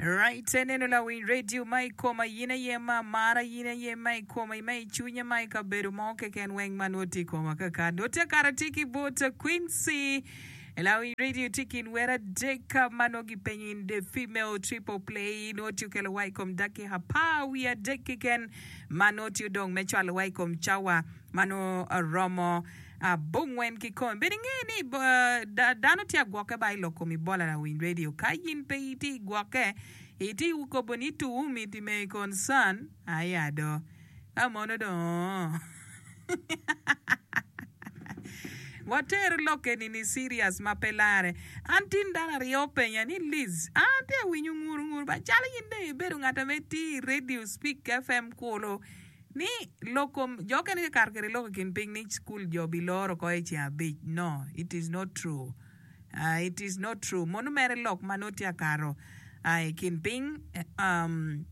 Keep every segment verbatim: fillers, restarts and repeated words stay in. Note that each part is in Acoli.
Right, eneno lawiny radio ma i koma in aye ma amara in aye ma i koma ma i cwinya ma i kabedo mo keken weng ma nongo tye i koma kaka nongo tye kara tye ki bot Quincy lawiny radio tye kin wer adek ma nongo gipenyo in the female triple play nongo tye okelo wa i kom dakika apar wiye adek keken ma nongo tye odong me cwalo wa i kom cawa ma nongo romo abongwen kikome. Bed inge ni dano tye agwokke ba i lok kom Ebola lawiny radio. Ka in pe itye i gwokke, itye i kobo ni to whom it may concern, aya do. Ka mono dong water lokke ni ni serious ma pe lare. An tin dano aryo openya ni Liz, an atye awinyo nguru nguru ba calo in dong ibedo ngat ame tye i radio speak F M kulu. Ni lok kom jo okene tye kato kwede lok i kin piny ni cukul jo biloro oko i ceng abic. No, it is not true. Uh, it is not true. Mono mere lok ma nongo tye akato uh, i kin piny um,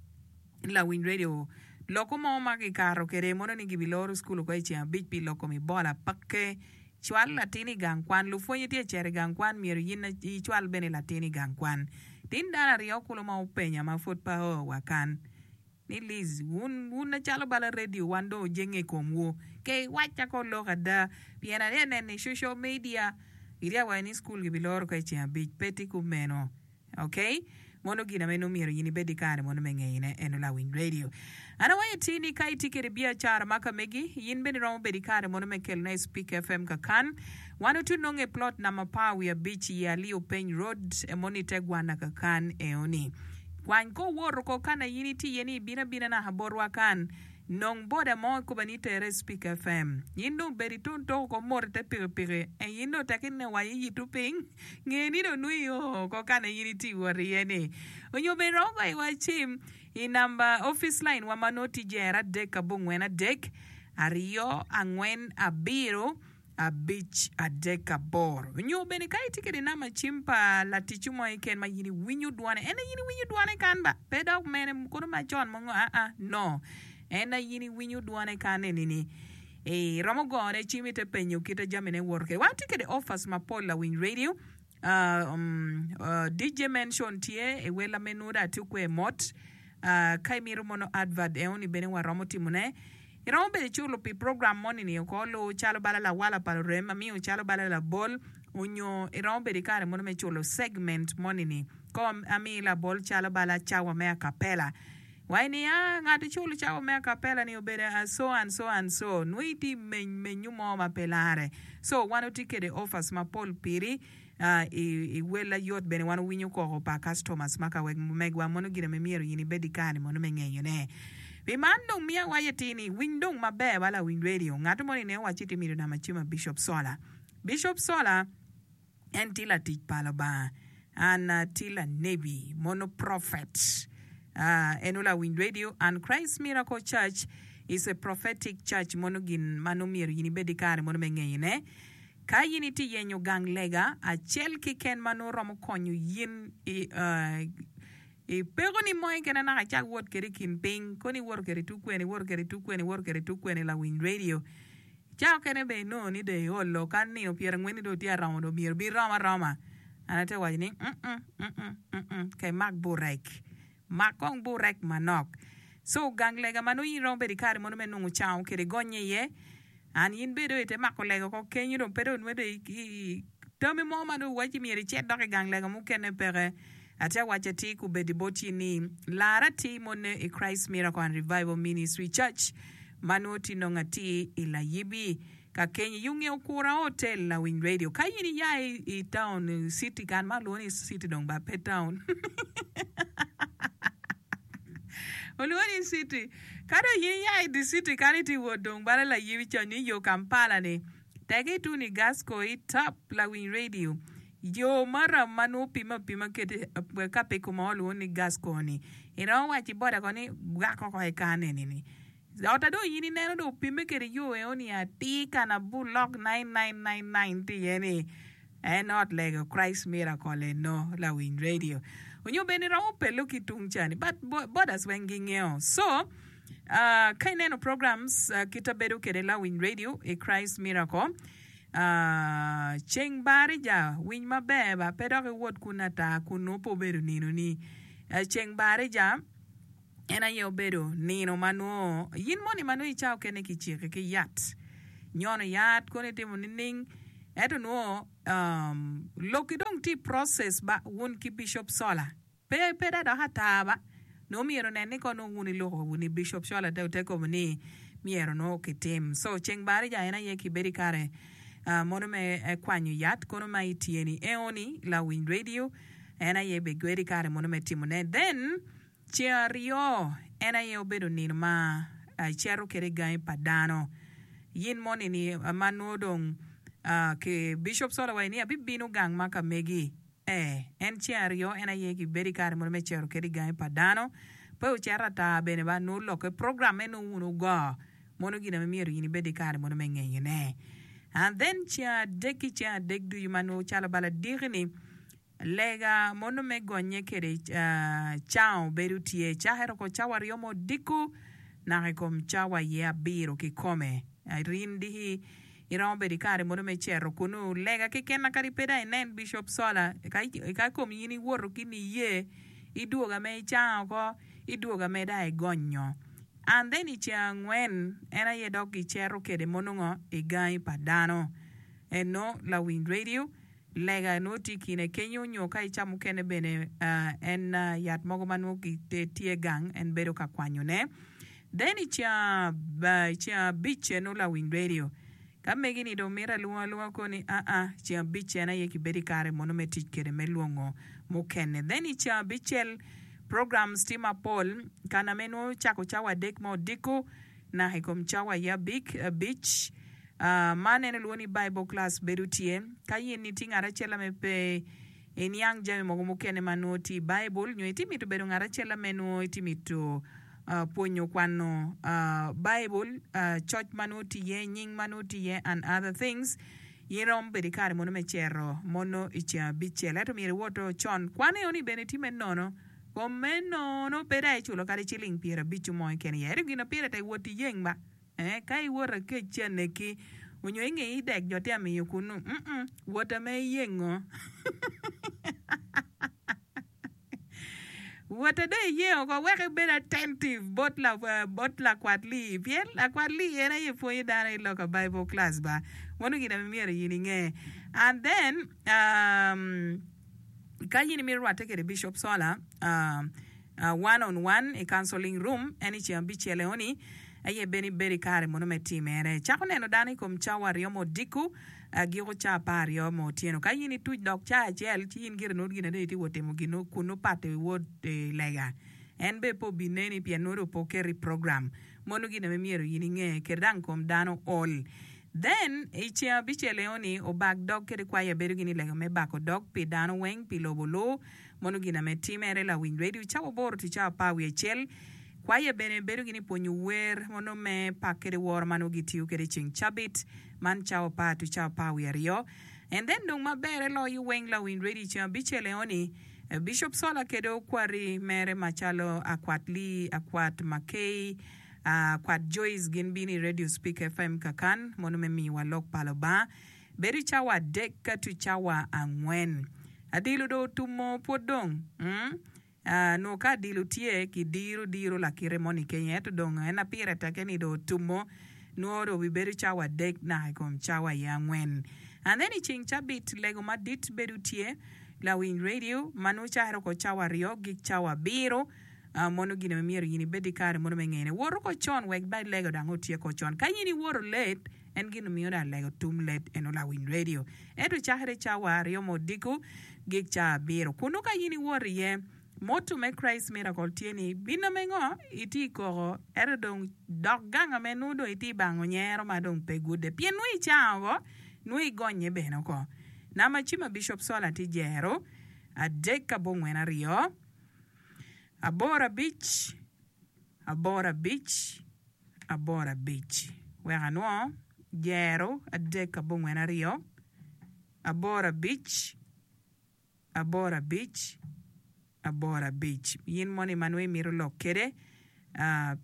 lawiny radio loko mo ma gikato kwede mono ni gibiloro cukul oko i ceng abic pi lok kom Ebola peke. Cwal latin i gang kwan. Lupwonye tye cito i gang kwan myero in icwal bene latin i gang kwan. Tin dano aryo kulu ma openya ma pud pe oo wa kan. Ni Liz, wun, wun acalo bala radio wan dong ojenge i komwu. Ke iwacca ko lok ada, pien atye neno i social media, gitye ka waco ni cukul gibiloro ka i ceng abic. Pe tye kumeno. Okay? Mono gin ame nongo myero in ibed ki kare mono me ngeyone eno lawiny radio. An awaco ti ni ka itye kede biacara ma ka megi, in bene iromo bedo ki kare mono me kelone i Speak F M kakan. Wan otye nongo i plot namba apar wiye abic i Aliu Peny Road, mono ite gwana kakan eoni. Kwany ko woto ko kana in itye iye ni ibino abina naka botwa kan. Nong boda mo ikoba ni itere i Speak F M. In dong bed itun toko ko mot ite pikipiki. En in dong tek ine wa iyito piny. Nge ni dong nongo io ko kana in itye wot iye ni. Onyo bene romo goyo iwa cim i namba office line wa ma nongo tye jero adek abongwen adek aryo angwen abiro abic adek aboro. Nyo bene ka itye kede namba cim pa laticci mo keken ma in iwinyo dwone, en aye in iwinyo dwone kan ba, pe dok mene kono macon mongo aa, no, en aye in iwinyo dwone kan eni-ni. Iromo gone cim ite penyo kite jamine woto kede. Wan watye kede offers mapol lawiny radio. Uh, um, uh, D J Mention tye i wel ame nwodo atye kwe mot. Uh, ka imito mono advert eoni bene waromo timone. Iromo bedo iculo pi program moni ni oko lu calo bala lawala pa lurem amiyo calo bala labol onyo iromo bedo i kare mono me culo segment moni ni ko ami labol calo bala cawa me acapella. Wai ni a ngat iculo cawa me acapella ni obedo a so and so and so nwo iti meny menyu mo ma pe lare. So wan otye kede offers mapol piri uh, i, i wel ayot bene wan owinyo koko pa customers ma ka wek megwa mono gin ame myero in ibed i kare mono me ngeyone. Pi man dong miya waco atir ni winy dong maber ba lawiny radio ngat moni ne owaci ti mito namba cim a Bishop Sola. Bishop Sola en tye latic pa Lubanga an tye lanebi mono prophet. Uh, en olawiny radio and Christ Miracle Church is a prophetic church mono gin ma nongo myero in ibed i kare mono me ngeyone. Ka in itye yenyo gang lega acel keken ma nongo romo konyo in i, uh, i peko ni mo keken naka icak wot kede i kin piny kono iwoto kede tung kwene iwoto kede tung kwene iwoto kede tung kwene lawiny radio ca okene bene inongo ni dong iolo ka nino pyerangwen ni dong tye aromo dong myero bi rom aroma an atye waco ni mm mm mm ka imak burek mak kong burek manok so gang lega ma nongo in iromo bedo i kare mono me nongo cango kede gonye iye an in bedo ite mako lega oko kenyo dong pe dong nongo i tami mo ma dong waci myero icit dok i gang lega mukene peke atye awaco atir kubedi bot in ni lar atir mone i Christ Miracle and Revival Ministry Church ma nongo tye nongo atir i Layibi ka kenyo yunge okura hotel lawiny radio ka in iya i town city kan ma olwongo ni city dong ba pe town olwongo ni city ka dong in iya i the city kan iti wot dong bala Layibi con ni yo Kampala ni teki ituni Gasco i top lawiny radio yo maram ma nongo pime apima kede ka pe kuma olwongo ni Gasco ni iromo waco i boda ko ni gwak oko i kan eni ni ot dong in ineno dong opime kede yo eoni atir kana bulok nine nine nine nine tye iye ni en ot lego Christ Miracle eno lawiny radio onyo bene iromo pelo ki tung cani but borders weng gingeo so uh, ka ineno programs uh, kita bedo kede lawiny radio i Christ Miracle uh, ceng barija winy maber ba pe dok iwot kun ata kun nongo pe obedo nino ni Ceng barija en aye obedo nino ma nongo in moni ma nongo i cawa okene kiciki ki yat, nyono yat kono itimo nining ento nongo lokki dong tye i process ba wun ki Bishop Sola pe pe da dok ata ba nongo myero onen ni kono wun iloko wun Bishop Sola te ote kobo ni myero nongo kitim so ceng barija en aye kibedo i kare mono me kwanyo yat kono ma ityeni eoni lawiny radio en aye bigwedi kare mono me timone. Then ceng aryo en aye obedo nino ma icito kwede i gangi pa dano. Yin moni ni ma nongo dong ki Bishop Sola waco ni abibino gang ma ka megi. Ee, en ceng aryo en aye kibedo i kare mono me cito kwede i gangi pa dano. Pe wucito ata bene ba nongo lokke program me nongo wun wugo mono gin ame myero in ibed i kare mono me ngeyone. And then ceng adek ki ceng adek ducu ma nongo calo bala diki-ni Lega mono me gonye kede cango bedo tye cakere oko cawa aryo me odiko naka i kom cawa aye abiro kikome. Rin diki iromo bedo i kare mono me cito kunu lega keken kadi pe dong inen Bishop Sola ka kom in iwoto ki niye idwoga me icango oko idwoga me dong igonyo and then i ceng angwen en aye dok gicito kede mono ngo i gangi pa dano eno lawiny radio Lega nongo tye i kine kenyo nyo ka i ca mukene bene en yat mogo ma nongo tye gang en bedo ka kwanyone. Then i ceng abic nongo lawiny radio ka megi ni dong mito alwonga alwonga koni aa ceng abic en aye kibedo i kare mono me tic kwede me lwongo mukene. Then i ceng abicel programs tye mapol kana me nongo cako cawa adek me odiko naka i kom cawa aye abic. Man en olwongo ni Bible class bedo tye ka in itye ngat acel ame pe iniang jami mogo mukene ma nongo tye i Baibul nyo itye mito bedo ngat acel ame nongo itye mito pwonyo kwano Baibul, coc ma nongo tye iye, nying ma nongo tye iye and other things. In iromo bedo ki kare mono me cito mono i ceng abicel ento myero iwot con. Kwan enoni bene tye me nono. Kom me nono pe dong iculo kadi ciling pyerabiccu mo keken iye. Ento gin ma pire tek wot iyeng ba. Eh, ka iwoto akec ci aneki, onyo inge idek jo tye amiyo kunu, mm, wot ame iyengo. Wot ade iyengo ko wek ibed attentive bot la, bot lakwat lee, pien lakwat lee en aye pwonyo dano i lok a Bible class ba. Meno gin ame myero in inge. And then, um, ka in imito rwatte kede Bishop Sola, um, One on one i counseling room en i ceng abicel eoni aye bene ibedo i kare mono me timere. Cako neno dano i kom cawa aryo me odiko giko ca apar aryo me otyeno. Ka in ituc dok ca acel ci in gire nongo gin adek itye wot timo gin kun nongo pat iwot i lega. En bene pe obineni pien nongo dong pe oketo i program. Mono gin ame myero in inge kede dang kom dano ol. Then i ceng abicel eoni obak dog kede kwaya bedo gin i lega me bako dog pi dano weng pi lobo luu. Mono gin ame timere lawiny radio cawa aboro to cawa apar wiye acel. Kwaya bene bedo gin i pwonyo wer mono me pak kede woro ma nongo gitiyo kede ceng cabit man cawa apar to cawa apar wiye aryo. And then dong maberre loyo weng lawiny radio ceng abicel eoni Bishop Sola kede okwari mere macalo Akwat Lee, Akwat Makey, Akwat Joyce gin bino i Radio Speak FM kakan mono me miyowa lok pa Lubanga. Bedo i cawa adek ka to cawa angwen. Adilo dong otumo pwod dong. Mm. Ah, nwo ka adilo tye, kidiro diro lakite moni kenyo, ento dong en apire teke ni dong otumo, nwo dong obibedo cawa adek naka i kom cawa aye angwen. And then i ceng cabit, lego madit bedo tye, lawiny radio, ma nwo cakere oko cawa aryo gik cawa abiro, ah, mono gin ma myero in ibed ki kare mono me ngene. Wot oko con wek ba lego dang otyek con. Ka in iwoto late, En gin omiyo dong alego tum led eno lawiny radio. Ento cakere cawa aryo me odiko gik cawa abiro. Kunu ka in iwoto iye, motto me Christ Miracle tye ni, Bino me ngo? Itye i koko, ento dong dok gang ame nongo dong itye i bango nyero ma dong pe gude. Pien nongo icango oko, nongo igonye bene oko. Namba cim a Bishop Sola tye jero adek abongwen aryo, aboro abic, aboro abic, aboro abic. Wek anwo, jero adek abongwen aryo, aboro abic, aboro abic, aboro abic. In moni ma nongo imito lok kede,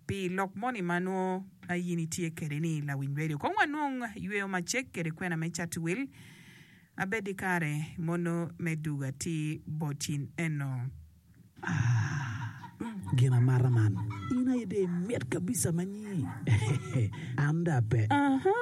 pi lok moni ma nongo in itye kede ni lawiny radio. Kong wanwong yweyo macek kede kwena me cato wil. Abed i kare mono me dugo atir bot in eno. Ah. Gin amata man, in aye dong imit kabisa ma nyi. An dong ape. Aha,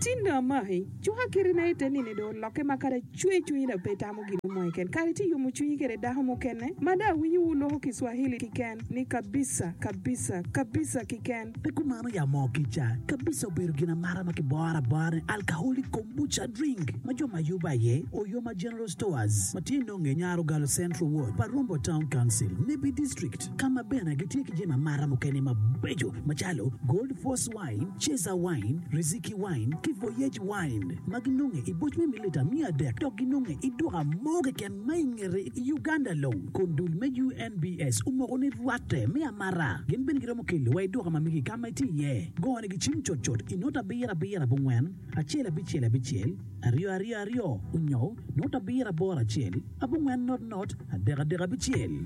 tin dong amaki. Cuka kitina ite nini dong olokke ma kadi acwe cwinyi dong pe itamo gin mo keken. Kadi itye yomo cwinyi kede dako mukene ma dong awinyo wu loko Kiswahili kiken ni kabisa, kabisa, kabisa kiken. Pe kumano ya moo kica, kabisa obedo gin amata ma kiboro abora ni alcoholic kombucha drink ma jo ma yubo aye Oyoma General Stores ma tye nonge Nyarogalo Central Ward pa Rombo Town Council, Nebbi District ka ma bene gitye ki jami amata mukene mabeco macalo Gold Force Wine, Chaser Wine, Riziki Wine ki Voyage Wine ma ginonge i boc me mililita miya adek dok ginonge i duka mo keken ma i ngete i Uganda long kun dul me U N B S omoko ni rwatte me amata. Gin bene giromo kelo wa i duka ma megi ka ma itye iye. Gone gi cim cutcut i not abiro abiro abongwen acel abicel abicel aryo aryo aryo onyo not abiro aboro acel abongwen not not adek adek abicel.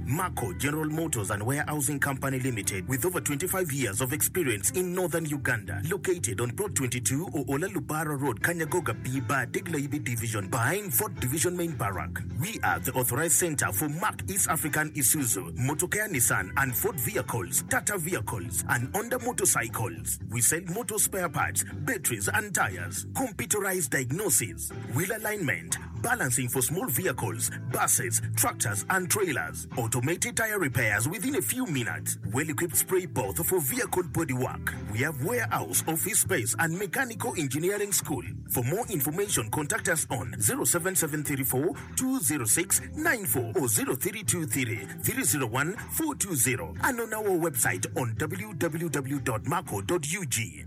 Marco General Motors and Warehousing Company Limited, with over twenty-five years of experience in northern Uganda, located on Plot twenty-two Oola Lubara Road, Kanyagoga B Bar, Degla Division, behind Fort Division Main Barrack. We are the authorized center for Mark East African Isuzu, Motokea Nissan and Ford vehicles, Tata vehicles, and Honda motorcycles. We sell motor spare parts, batteries and tires, computerized diagnosis, wheel alignment, balancing for small vehicles, buses, tractors and trailers, automated tire repairs within a few minutes, well-equipped spray booth for vehicle bodywork. We have warehouse, office space and mechanical engineering school. For more information, contact us on zero seven seven three four two zero six nine four or zero three two three three zero one four two zero and on our website on w w w dot marco dot u g.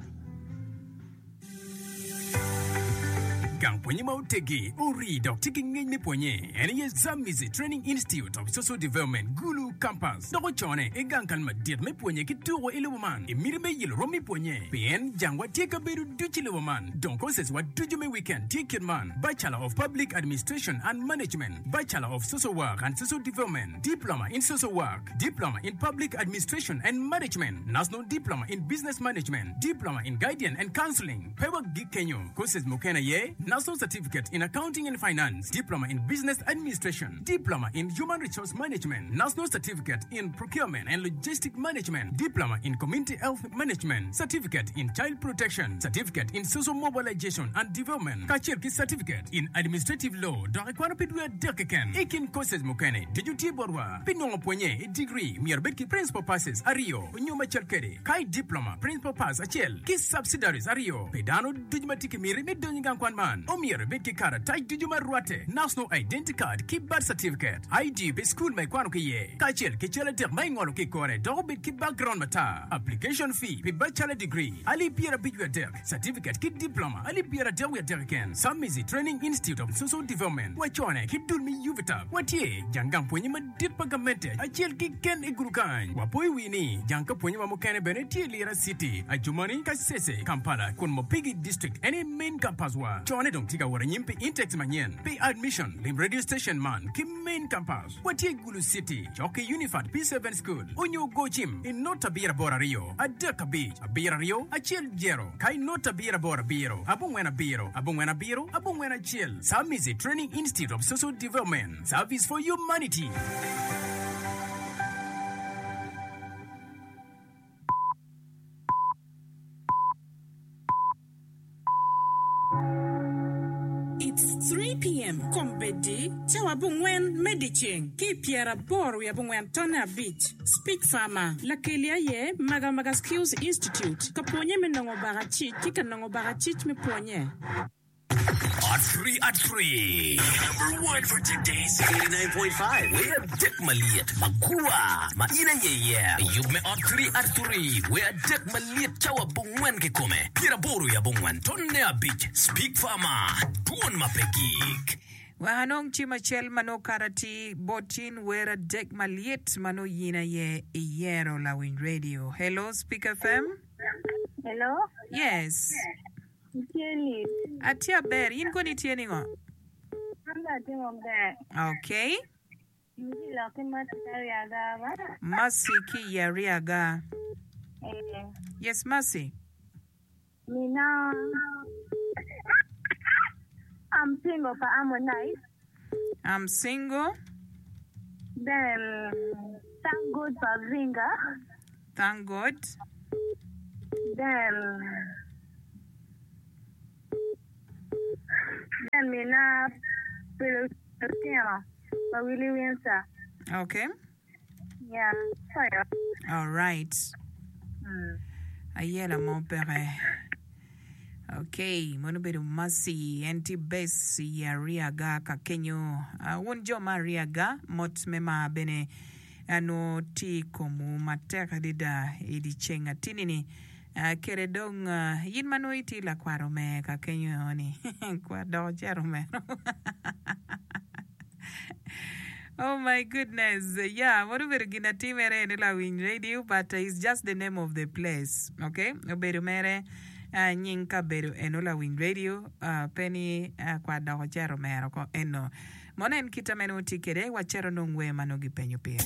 Gang pwonye ma oteggi, ori dok tye ki ngec me pwonye en aye Zambezi Training Institute of Social Development, Gulu Campus, dok ocone i gang kal madit me pwonye ki tuko i lobo man. I miti me yelo rom me pwonye, pien jangwa tye kabedo ducu i lobo man. Dong courses wa ducu me weekend tye kit man: Bachelor of Public Administration and Management, Bachelor of Social Work and Social Development, Diploma in Social Work, Diploma in Public Administration and Management, National Diploma in Business Management, Diploma in Guidance and Counseling. Pe wagik kenyo, courses mukene aye National Certificate in Accounting and Finance, Diploma in Business Administration, Diploma in Human Resource Management, National Certificate in Procurement and Logistic Management, Diploma in Community Health Management, Certificate in Child Protection, Certificate in Social Mobilization and Development, kacel ki Certificate in Administrative Law dok ikwano pi dwe adek keken. I kin courses mukene ducu tye botwa. Pi nongo pwonye i degree myero ibed ki Principal Passes aryo nyo macal kwede, ka i Diploma, Principal Pass acel ki Subsidiaries aryo. Pi dano ducu ma tye ki miti me donyo i gang kwan man, omyero ibed ki karatac ducu ma rwatte, National Identity Card ki Birth Certificate, I D pi cukul ma ikwano ki iye, kacel ki cal adek ma ingolo ki i kore dok obed ki background matar. Application fee pi Bachelor Degree alip pyerabic wiye adek, Certificate ki Diploma alip pyeradek wiye adek keken. Samizi Training Institute of Social Development wacone ki dul me UVTAB watye jang gang pwonye madit pa gamente acel keken i gulu kany. Wapoyo wi ni jang ka pwonye wa mukene bene tye i Lira City, Adjumani, Kasese, Kampala kun Mopigi District en aye main campus wa. Cone dong tye ka wot anyim pi intakes manyen. Pi admission, lim radio station man ki main campus. Watye i Gulu City, cok ki Unifat P seven School, onyo go cim i not abiro aboro aryo, adek abic, abiro aryo, acel jero, ka i not abiro aboro abiro, abongwen abiro, abongwen abiro, abongwen acel. Samizi Training Institute of Social Development, Service for Humanity. It's three P M Kombeddi, cawa abongwen me dyeceng ki i pyeraboro wiye abongwen tonne abic. Speech Farmer, Lakeli aye Magamaga Skills Institute, ka pwonye me nongo bakacic ki ka nongo bakacic me pwonye. At three at three. Number one for today's eighty-nine point five. Wer adek malyet magwar ma in aye iye. Yub me ot three at three. Wer adek malyet cawa abongwen kikome. Pyeraboro i abongwen tonne abic. Speak Farmer. Dwon ma pe gik. Wek anong cim acel ma nongo kato atir bot in wer adek malyet ma nongo yin aye iyero lawiny radio. Hello Speak F M. Hello. Yes. Itye Liz? Atye aber. In koni itye ningo? An bene atye maber. Okay. Itye lok ki Mercy ki Ariaga ba? Mercy ki i Ariaga. Eh. Yes, Mercy. Mina. I'm single pa Harmonize. I'm single. Then thank God for Zinga. Thank God. Then then mina Filipino pa Willie Windsor. Okay. Yeah. Sorry. All right. Mm. Ayela mo peke. Okay, mono obedo Mercy en tye base i Ariaga ka kenyo. Uh, wun jo ma Ariaga mot me mar bene nongo tye i komwu matek adada i dyeceng atini-ni. Uh, kede dong uh, in ma nongo itye lakwat omer ka kenyo ni kwat dok ocito omero. Oh my goodness. Yeah, mono obedo gin atimere eni lawiny radio but uh, it's just the name of the place. Okay? Obedo mere uh, nying kabedo eno lawiny radio uh, pe ni uh, kwat dok ocito omero ko eno. Mono en kite ma nongo tye kwede wacito nong wer ma nongo gipenyo pire.